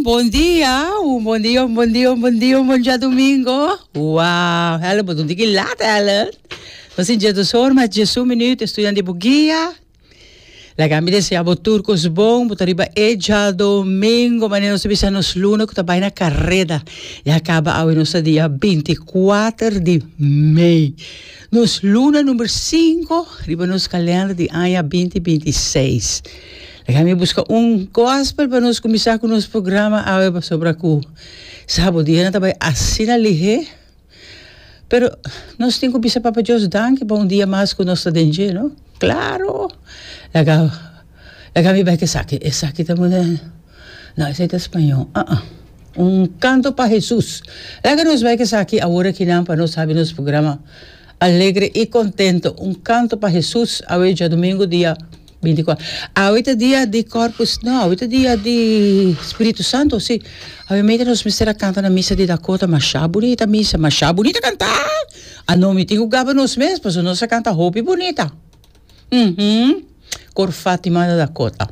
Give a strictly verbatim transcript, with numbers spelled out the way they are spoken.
Bon dia, un bon dia, un bon dia, un bon dia, un bon djadumingu. Wow, Helen, bo ta ki lat, Helen. Nos tin diesdos or mas diesun minüt, studiante di guia. Laga mi deseá bo tur kos bon, bo ta riba e djadumingu, manera nos bisa nos luna ku ta bai na kareda. Ya kaba awe nos dia binti kuater di mei. Nos luna number sinku, riba nos kalènder di aña dos mil binti seis. Laga mi buska un gospel pa nos kuminsá ku nos programa awe pasobra ku sabi dia ta bai asina lihé. Pero nos tin ku bisa Papa Dios danki pa un dia mas ku nos ta den, no? Klaro. Laga, laga mi bai ku esaki, esaki ta bon. No, esei ta spañó. Ah, ah. Un kanto pa Hesus. Laga nos bai ku esaki awor akinan pa nos habri nos programa alegre i kontentu. Un kanto pa Hesus. Awe djadumingu dia binti kuater. Awe ta dia di Corpus, no, awe ta dia di Spiritu Santu, si. Awe mester nos mester a kanta na misa di Dakota, masha bunita misa, masha bunita kanta. Ah, no, mi tin ku gaba nos mes, pasobra nos a kanta hopi bunita. Uhum. Kor Fatima da Dakota.